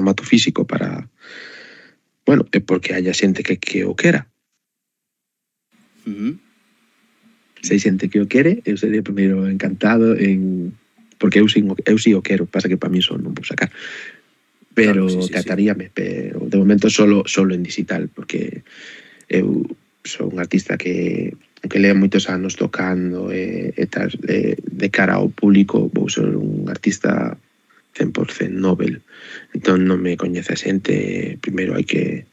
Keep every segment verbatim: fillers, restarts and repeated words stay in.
formato físico para, bueno, é porque haya xente que, que o quera. Uh-huh. Se hai xente que o quere, eu sería primeiro encantado en... porque eu, sin, eu si o quero, pasa que para mí só non vou sacar. Pero claro, sí, sí, cataríame, sí. Pero de momento solo, solo en digital, porque eu sou un artista que que lea moitos anos tocando e, e tal, e, de cara ao público vou ser un artista cen por cento Nobel. Entón non me coñece a xente, primeiro hai que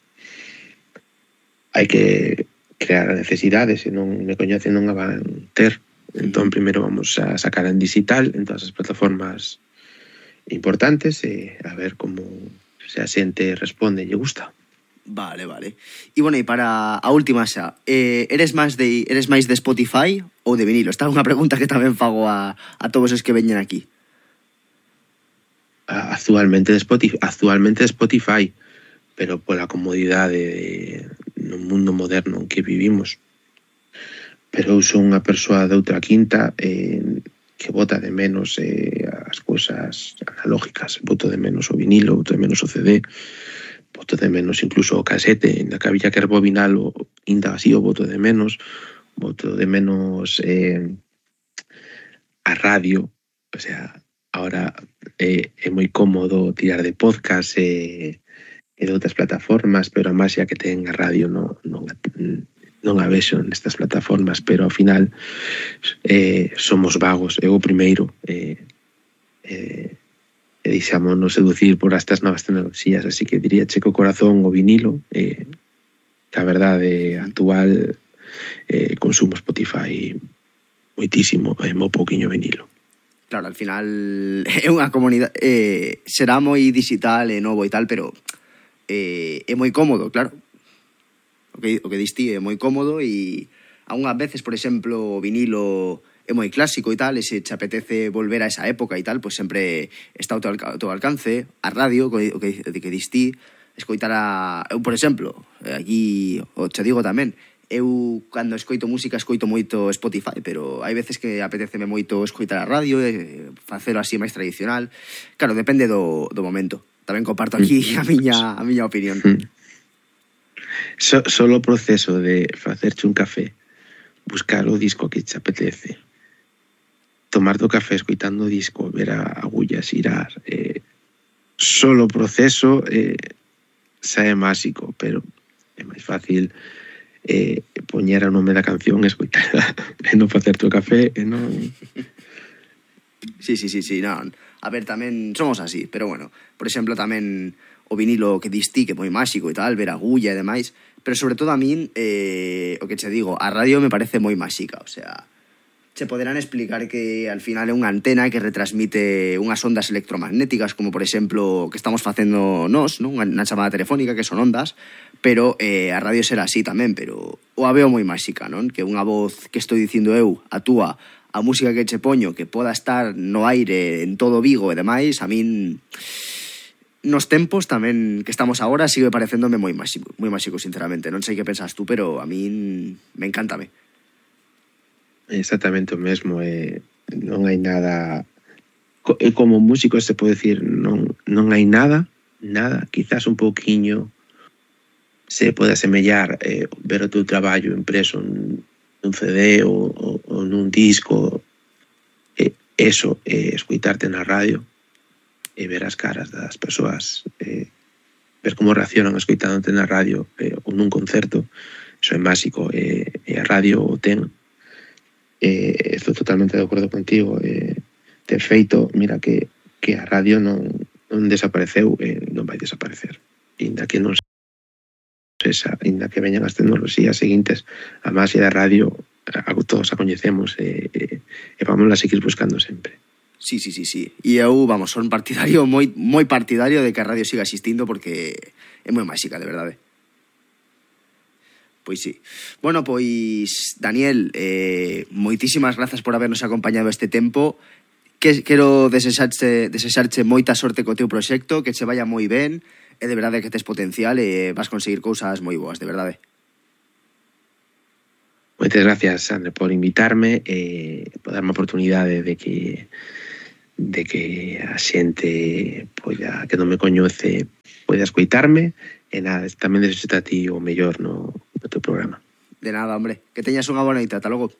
hai que crear necesidades, se non me coñecen non a van ter. Entón primeiro vamos a sacar en digital en todas as plataformas importantes e a ver como se a xente responde e lle gusta. Vale, vale. E bueno, e para a última xa, eh, eres máis de eres máis de Spotify ou de vinilo? Esta é unha pregunta que tamén fago a, a todos os que veñen aquí. Actualmente de Spotify, actualmente de Spotify, pero pola comodidade de, no mundo moderno en que vivimos. Pero eu sou unha persoa de outra quinta eh, que bota de menos eh, as cousas analógicas, boto de menos o vinilo, boto de menos o C D, boto de menos incluso o casete, na que había que rebobinalo, inda así o boto de menos, boto de menos eh, a radio, o sea, ahora eh, é moi cómodo tirar de podcast e, e de outras plataformas, pero a máxia que ten a radio non, non, non a vexo nestas plataformas, pero ao final eh, somos vagos, eu o primeiro, eh, eh, e deixámonos seducir por estas novas tecnoloxías, así que diría che co corazón o vinilo, eh, que a verdade actual eh, consumo Spotify moitísimo e mo pouquiño vinilo. Claro, al final é unha comunidade, eh, será moi digital e novo e tal, pero eh, é moi cómodo, claro. O que, o que distí é moi cómodo e algunhas veces, por exemplo, o vinilo é moi clásico e tal, e se te apetece volver a esa época e tal, pois sempre está ao teu, ao teu alcance, a radio, o que, o que, que distí, escoitar a... Eu, por exemplo, aquí, o te digo tamén, eu, cando escoito música, escoito moito Spotify, pero hai veces que apeteceme moito escoitar a radio, e facelo así máis tradicional. Claro, depende do, do momento. Tamén comparto aquí a miña, a miña opinión. So, solo o proceso de facerche un café, buscar o disco que te apetece, tomarte o café escoitando o disco, ver a agullas irar, eh, solo o proceso eh, xa é máxico, pero é máis fácil eh, poñer o nome da canción e escoitar e non facerte o café e non... Sí, sí, sí, sí, non. A ver, tamén somos así, pero bueno, por exemplo, tamén o vinilo que distí, que é moi máxico e tal, ver a agulla e demais, pero sobre todo a min, eh, o que che digo, a radio me parece moi máxica, o sea, che poderán explicar que al final é unha antena que retransmite unhas ondas electromagnéticas, como por exemplo que estamos facendo nós, non? Unha chamada telefónica que son ondas, pero eh, a radio será así tamén, pero o a veo moi máxica, non? Que unha voz que estou dicindo eu, a túa, a música que che poño, que poda estar no aire en todo Vigo e demais, a min nos tempos tamén que estamos agora sigue parecéndome moi máxico, moi máxico, sinceramente. Non sei que pensas tú, pero a min me encántame. Exactamente o mesmo, eh, non hai nada... Como músico se pode decir, non, non hai nada, nada, quizás un pouquiño se pode asemellar eh, ver o teu traballo impreso nun, nun C D ou, ou, ou nun disco, eh, eso, eh, escuitarte na radio e ver as caras das persoas, eh, ver como reaccionan escoitándote na radio eh, ou nun concerto, eso é máxico, eh, e a radio o ten. Eh, estou totalmente de acordo contigo, eh, de feito, mira que, que a radio non, non desapareceu e eh, non vai desaparecer, inda que non sexa, inda que veñan as tecnoloxías seguintes, a máxia da radio a, todos a coñecemos e, e, e vamos a seguir buscando sempre. Sí, sí, sí, sí. E eu, vamos, son partidario, moi, moi partidario de que a radio siga existindo porque é moi máxica, de verdade. Pois sí. Bueno, pois, Daniel, eh, moitísimas grazas por habernos acompañado este tempo. Que, quero desexarche, desexarche moita sorte co teu proxecto, que che vaya moi ben, e de verdade que tes potencial e vas conseguir cousas moi boas, de verdade. Moitas gracias, Sandra, por invitarme e por darme a oportunidade de que de que a xente poida, que non me coñece poida escoitarme e nada, tamén desexo a ti o mellor no, no teu programa. De nada, hombre. Que teñas unha boa noite. Ata logo.